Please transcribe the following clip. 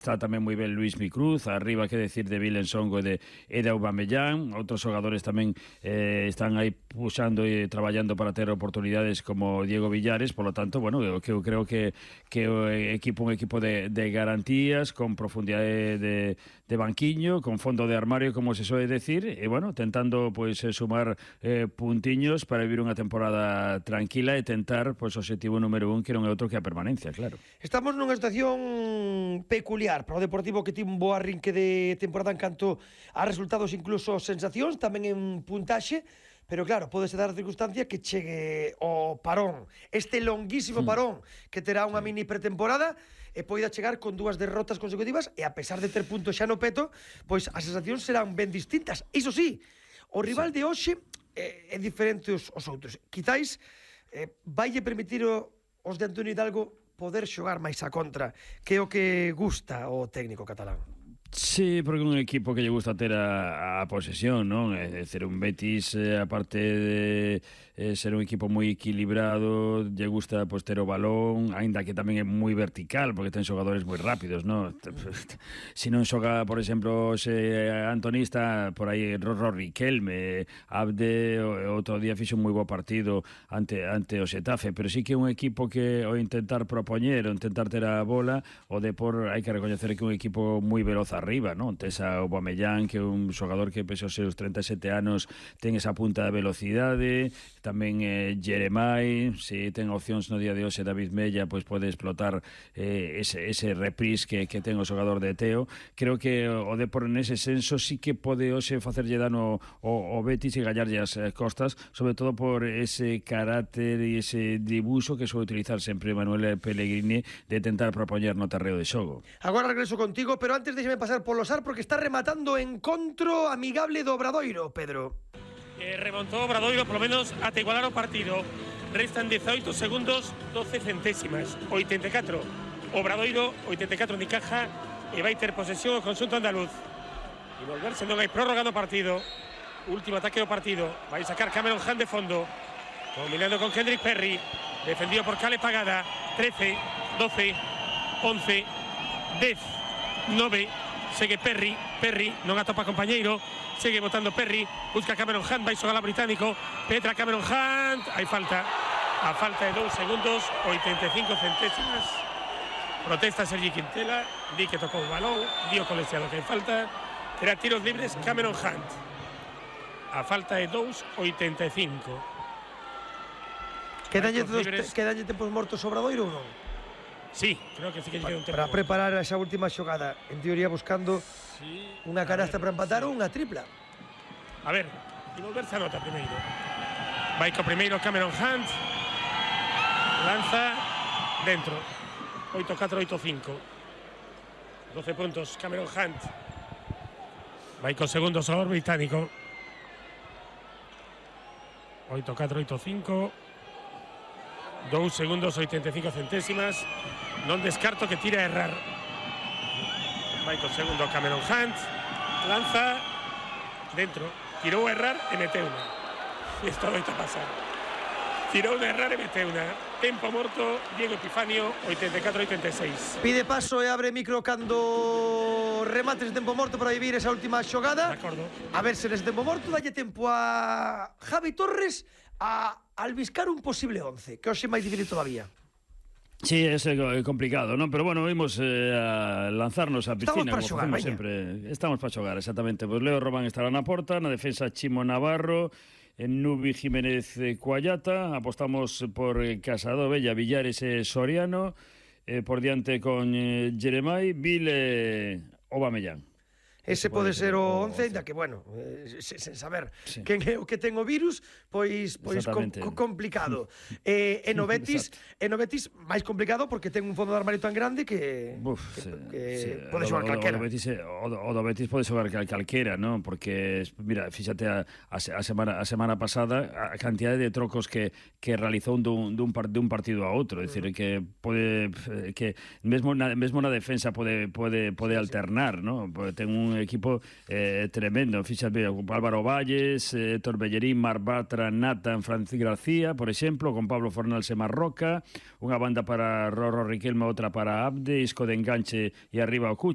está tamén moi ben Luis Micruz, arriba que decir de Vilen Songo e de Aubameyang. Outros xogadores tamén están aí puxando e traballando para ter oportunidades como Diego Villares. Por lo tanto, bueno, eu creo que o equipo un equipo de garantías, con profundidade de banquiño, con fondo de armario, como se soe decir, e bueno, tentando pois sumar puntiños para vivir unha temporada tranquila e tentar pois o objetivo número 1, que non é outro que a permanencia, claro. Estamos nunha situación peculiar para o Deportivo, que tivo un bo arrinque de temporada en canto a resultados, incluso sensacións, tamén en puntaxe, pero claro, pódese dar a circunstancia que chegue o parón, este longuísimo parón que terá unha mini pretemporada, e poida chegar con 2 derrotas consecutivas, e a pesar de ter puntos xa no peto, pois as sensacións serán ben distintas. Iso sí, o rival de hoxe é diferente aos outros. Quizáis vaille permitir os de Antonio Hidalgo poder xogar máis a contra, que é o que gusta o técnico catalán. Sí, porque é un equipo que lle gusta ter a posesión, non? É dicir, un Betis, aparte de ser un equipo moi equilibrado, lle gusta pois, ter o balón, aínda que tamén é moi vertical, porque ten xogadores moi rápidos, non? Se non xoga, por exemplo, se Antonista, por aí Rory Riquelme, Abde, outro día fixo un moi bo partido ante o Xetafe, pero sí que é un equipo que ao intentar propoñer, ao intentar ter a bola, o Depor hai que recoñecer que é un equipo moi veloz arriba, non? Tes a Aubameyang, que é un xogador que pese aos seus 37 anos ten esa punta de velocidade, tamén Jeremai, se ten opcións no día de hoxe David Mella, pois pode explotar ese reprise que ten o xogador de Teo. Creo que o Depor nese senso sí que pode hoxe facerlle dano o Betis e gallarlle as costas, sobre todo por ese carácter e ese dibuixo que soe utilizar sempre Manuel Pellegrini, de tentar propoñer no terreo de xogo. Agora regreso contigo, pero antes déxeme pasar polo SAR, porque está rematando encontro amigable do Obradoiro, Pedro. Remontou Obradoiro, polo menos ata igualar o partido. Restan 18 segundos, 12 centésimas. 84 Obradoiro, 84 Unicaja, e vai ter posesión o conxunto andaluz. E volverse, non hai prórroga do partido. Último ataque do partido. Vai sacar Cameron Hunt de fondo, combinando con Kendrick Perry, defendido por Cale Pagada. 13, 12, 11, 10, 9. Segue Perry non atopa compañeiro, segue botando Perry, busca Cameron Hunt, vai xogar a británico, penetra Cameron Hunt, hai falta, a falta de 2 segundos, 85 centésimas. Protesta Sergi Quintela, di que tocou o balón, di o colexiado que hai falta, terá tiros libres Cameron Hunt. A falta de 2,85. Quedanlle tempos mortos Obradoiro ou non? Sí, creo que sí que lle queda un tempo. Para preparar esa última xogada, en teoría buscando unha canasta para empatar ou unha tripla. A ver, e volverse a nota primeiro. Vai co primeiro Cameron Hunt, lanza dentro. 8-4, 8-5. 12 puntos Cameron Hunt. Vai co segundo xogador británico. 8-4, 8-5. 2 segundos, 85 centésimas. Non descarto que tira a errar. Vai co segundo Cameron Hunt, lanza dentro, tirou a errar e meteu unha. Isto doita pasar. Tirou a errar e meteu unha. Tempo morto, Diego Epifanio, 84-86. Pide paso e abre micro cando remates de tempo morto para vivir esa última xogada. De acordo. A ver se nese tempo morto dalle tempo a Javi Torres a albiscar un posible 11, que hoxe é máis difícil todavía. Sí, é complicado, non? Pero bueno, vimos a lanzarnos a piscina, como facemos sempre. Estamos para xogar, exactamente. Pois Leo Román estará na porta, na defensa Chimo Navarro, en Nubi Jiménez Cuallata, apostamos por Casado, Bella, Villares e Soriano, por diante con Jeremai, Vile, Aubameyang. Ese pode ser o 11, ainda que, bueno, sen saber quen é o que ten o virus, pois complicado. E no Betis máis complicado porque ten un fondo de armario tan grande que pode xogar calquera. O do Betis pode xogar calquera, non? Porque, mira, fíxate a semana pasada a cantidade de trocos que realizou dun partido a outro, é dicir, que pode que mesmo na defensa pode alternar, non? Ten un un equipo tremendo. Fíxate, Álvaro Valles, Torbellerín, Mar Bartra, Nathan, Francis García, por exemplo, con Pablo Fornals e Marroca, unha banda para Rorro Riquelme, outra para Abde, Isco de enganche e arriba o Cucho.